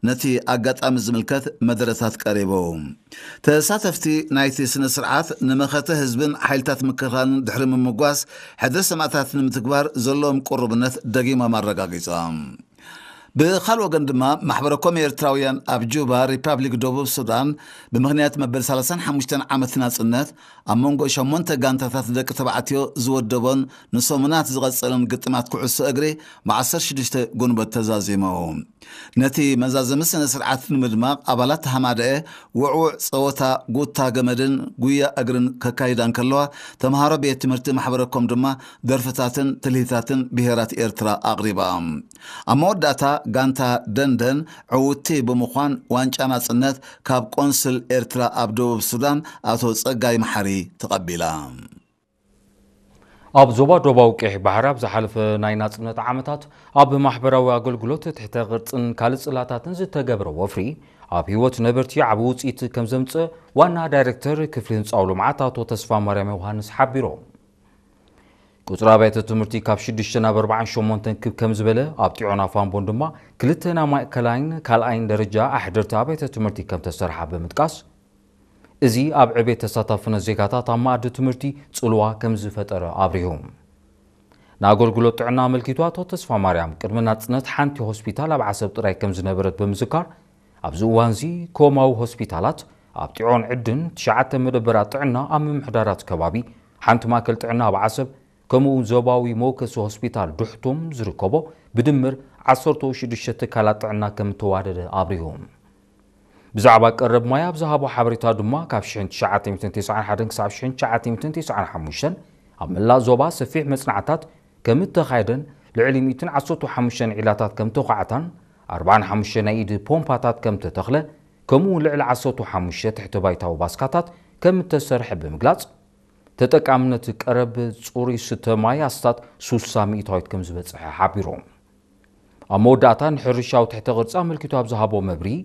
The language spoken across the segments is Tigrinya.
ነቲ ኣጋጣሚ ዝምልከት መደረታት ቀሪቡ። ተሳተፍቲ ናይቲ ስነ ስርዓት ንመኸተ ህዝብን ሓይልታት ምክልኻልን ድሕሪ ምምጓስ፣ ሕድሪ ሰማእታት ንምትግባር ዘለዎም ቅሩብነት ደጊሞም ኣረጋጊጾም። ብኻልእ ወገን ድማ፣ ማሕበረ ኮም ኤርትራውያን ኣብ ጁባ፣ ሪፓብሊክ ደቡብ ሱዳን፣ ብምኽንያት መበል ሰላሳን ሓሙሽተን ዓመት ናጽነት፣ ኣብ መንጎ ሸሞንተ ጋንታታት ደቂ ተባዕትዮ ዝወደቦን ንሰሙናት ዝቐጸለን ግጥማት ኩዕሶ እግሪ፣ ብ ዓሰርተ ሽዱሽተ ጉንበት ተዛዚሙ። ነቲ መዛዘሚ ስነ ስርዓት ንምድማቕ፣ ኣባላት ሃማደኤ ውዕውዕ ጸወታ ጉታ ገመድን ጉያ እግርን ከካይዳ እንከለዋ፣ ተምሃሮ ቤት ትምህርቲ ማሕበረ ኮም ድማ ደርፍታትን ትልሂታትን ብሄራት ኤርትራ ኣቕሪባ። ኣብ መወዳእታ፣ ጋንታ ደንደን ዕውቲ ብምዃን ዋንጫ ናጽነት ካብ ቆንስል ኤርትራ ኣብ ደቡብ ሱዳን ኣቶ ጸጋይ መሓሪ ተቐቢላ። ኣብ ዞባ ደቡባዊ ቀይሕ ባሕሪ ኣብ ዝሓለፈ ናይ ናጽነት ዓመታት ኣብ ማሕበራዊ ኣገልግሎት፣ ትሕተ ቅርጽን ካልእ ጽላታትን ዝተገብረ ወፍሪ፣ ኣብ ህይወት ነበርቲ ዓቢ ውጽኢት ከም ዘምጽእ ዋና ዳይሬክተር ክፍሊ ህንጻዊ ልምዓት ኣቶ ተስፋ ማርያም ዮሃንስ ሓቢሮም። ቁጽሪ ኣብያተ ትምህርቲ ካብ ሽዱሽተ ናብ ኣርባዓን ሸሞንተን ክብ ከም ዝበለ፣ ኣብ ጢዖን ኣፋምቦን ድማ ክልተ ናይ ማእከላይን ካልኣይን ደረጃ ኣሕደርቲ ኣብያተ ትምህርቲ ከም ተሰርሓ ብምጥቃስ፣ እዚ ኣብ ዕቤት ተሳታፍነት ዜጋታት ኣብ መኣዲ ትምህርቲ ጽልዋ ከም ዝፈጠረ ኣብሪሁ። ንኣገልግሎት ጥዕና ኣመልኪቱ ኣቶ ተስፋ ማርያም፣ ቅድሚ ናጽነት ሓንቲ ሆስፒታል ኣብ ዓሰብ ጥራይ ከም ዝነበረት ብምዝካር፣ ኣብዚ እዋንዚ ኮማዊ ሆስፒታላት ኣብ ጢዖን ዕድን፣ ትሽዓተ መደበራት ጥዕና ኣብ ምምሕዳራት ከባቢ፣ ሓንቲ ማእከል ጥዕና ኣብ ዓሰብ፣ ከምኡ እውን ዞባዊ መወከሲ ሆስፒታል ዱሕቱም ዝርከቦ ብድምር ዓሰርተ ሽዱሽተ ትካላት ጥዕና ከም እተዋደደ ኣብሪሁ። ብዛዕባ ቀረብ ማይ ኣብ ዝሃቦ ሓበሬታ ድማ፣ ካብ ሽሕን ትሽዓተ ሚእትን ተስዓን ሓደን ክሳብ ሽሕን ትሽዓተ ሚእትን ተስዓን ሓሙሽተን ኣብ መላእ ዞባ ሰፊሕ መጽናዕታት ከም እተኻየደን፣ ልዕሊ ሚእትን ዓሰርተ ሓሙሽተን ዒላታት ከም ተዃዕታን፣ ኣርባዓን ሓሙሽተን ናይ ኢድ ፖምፓታት ከም ተተኽለ፣ ከምኡ እውን ልዕሊ ዓሰርተ ሓሙሽተ ትሕተ ባይታዊ ባስካታት ከም እተሰርሐ ብምግላጽ፣ ተጠቃምነት ቀረብ ጽሩይ ስተ ማይ ኣስታት ሱሳ ሚእታዊት ከም ዝበጽሐ ሓቢሩ። ኣብ መወዳእታ፣ ንሕርሻዊ ትሕተ ቅርጺ ኣመልኪቱ ኣብ ዝሃቦ መብርሂ፣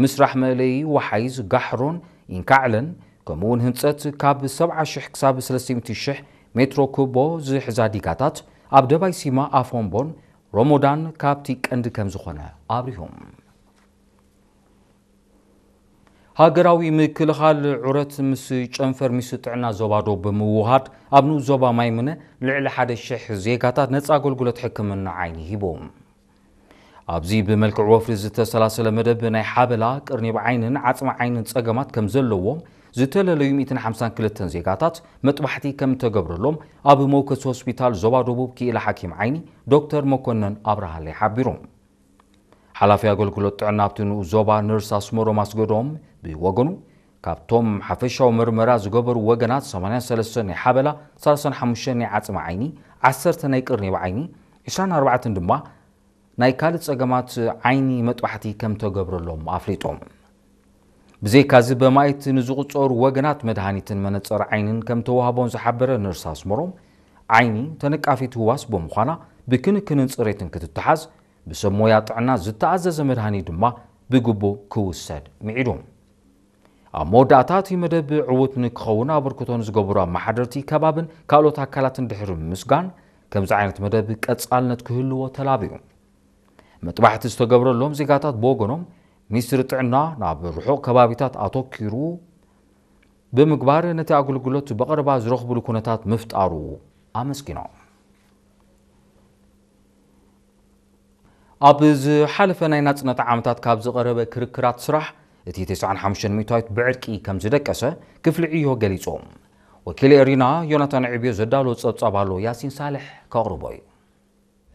ምስራሕ መእለዪ ወሓይዝ ጋሕሮን ኢንካዕለን፣ ከምኡ እውን ህንጸት ካብ ሰብዓ ሽሕ ክሳብ ሰለስተ ሚእቲ ሽሕ ሜትሮ ኩቦ ዝሕዛ ዲጋታት ኣብ ደባይ ሲማ ኣፎምቦን ሮሞዳን ካብቲ ቀንዲ ከም ዝኾነ ኣብሪሁ። ሃገራዊ ምክልኻል ዑረት ምስ ጨንፈር ሚኒስትሪ ጥዕና ዞባ ዶብ ብምውሃድ፣ ኣብ ንኡስ ዞባ ማይምነ ልዕሊ ሓደ ሽሕ ዜጋታት ነጻ ኣገልግሎት ሕክምና ዓይኒ ሂቡ። ኣብዚ ብመልክዕ ወፍሪ ዝተሰላሰለ መደብ፣ ናይ ሓበላ፣ ቅርኒብ ዓይንን ዓጽሚ ዓይንን ጸገማት ከም ዘለዎም ዝተለለዩ ሚእትን ሓምሳን ክልተን ዜጋታት መጥባሕቲ ከም እተገብረሎም ኣብ መወከሲ ሆስፒታል ዞባ ደቡብ ክኢላ ሓኪም ዓይኒ ዶክተር መኮነን ኣብርሃለይ ሓቢሩ። ሓላፊ ኣገልግሎት ጥዕና ኣብቲ ንኡስ ዞባ ነርስ ኣስመሮም ኣስገዶም ብወገኑ፣ ካብቶም ሓፈሻዊ መርመራ ዝገበሩ ወገናት፣ ሰማንያን ሰለስተን ናይ ሓበላ፣ ሰላሳን ሓሙሽተን ናይ ዓጽሚ ዓይኒ፣ ዓሰርተ ናይ ቅርኒብ ዓይኒ፣ ዕስራን ኣርባዕተን ድማ ናይ ካልእ ጸገማት ዓይኒ መጥባሕቲ ከም ተገብረሎም ኣፍሊጦም። ብዘይካዚ፣ በማይት ንዝቑጸሩ ወገናት መድሃኒትን መነጸር ዓይንን ከም ተዋህቦን ዝሓበረ ነርስ ኣስመሮም፣ ዓይኒ ተነቃፊት ህዋስ ብምዃና፣ ብክንክንን ጽሬትን ክትተሓዝ፣ ብሰብ ሞያ ጥዕና ዝተኣዘዘ መድሃኒት ድማ ብግቡእ ክውሰድ ምዒዱ። ኣብ መወዳእታ፣ እቲ መደብ ዕዉት ንክኸውን ኣበርክቶ ንዝገበሩ ኣመሓደርቲ ከባብን ካልኦት ኣካላትን ድሕሪ ምምስጋን፣ ከምዚ ዓይነት መደብ ቀጻልነት ክህልዎ ተላብዩ። መጥባሕቲ ዝተገብረሎም ዜጋታት ብወገኖም፣ ሚኒስትሪ ጥዕና ናብ ርሑቕ ከባቢታት ኣተኪሩ ብምግባር፣ ነቲ ኣገልግሎት ብቐረባ ዝረኽብሉ ኩነታት ምፍጣሩ ኣመስጊኖም። ኣብ ዝሓለፈ ናይ ናጽነት ዓመታት ካብ ዝቐረበ ክርክራት ስራሕ፣ እቲ ተስዓን ሓሙሽተን ሚእታዊት ብዕርቂ ከም ዝደቀሰ ክፍሊ ዕዮ ገሊጹ። ወኪል ኤሪና ዮናታን ዕብዮ ዘዳለዎ ጸብጻብ ኣሎ፣ ያሲን ሳልሕ ከቕርቦ እዩ።